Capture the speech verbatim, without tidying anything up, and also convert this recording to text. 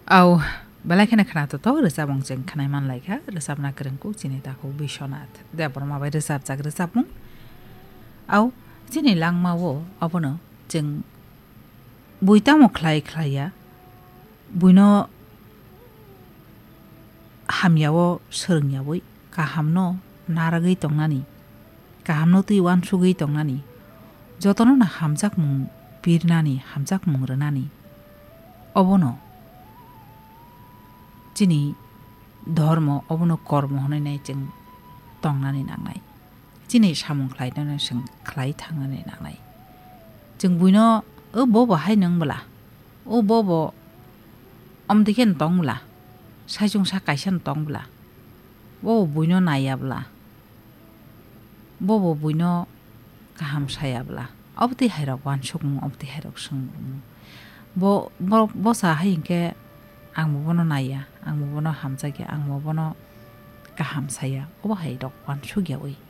Au, belai kheno khwnathok rwchapmung chwng khwnai manlaikha, rwchapna kwrwng kuk chini takhuk Biswanath Debbarma bai rwchapjak rwchapmung. Au, chini langmao obono chwng bui tamo khlai khlaiya, buino hamyao swrwngyawi, kahamno narwgwi tongnani, kahamno twi uansugwi tongnani, jotono no hamjakmung pirnani, hamjakmung rwnani. Obono chini dhormo, obono kormo hwnwi nai chwng tongnani nangnai. Chini samung khlainano chwng khlai thangnani nangnai. Chwng buino, "O bobo hai nung bwla, o bobo omtwi khe tong bwla, saichung sa kaisa tong bwla, bobo buino naiya bwla, bobo buino kaham saya bwla." Obotwi hairok uansukmung, obotwi hairok swngmung. Bo, bo, bosa hai hinkhe ang bo bono naiya, ang bo bono hamjakya, ang bo bono kaham saya. Obo hairok uansukyawi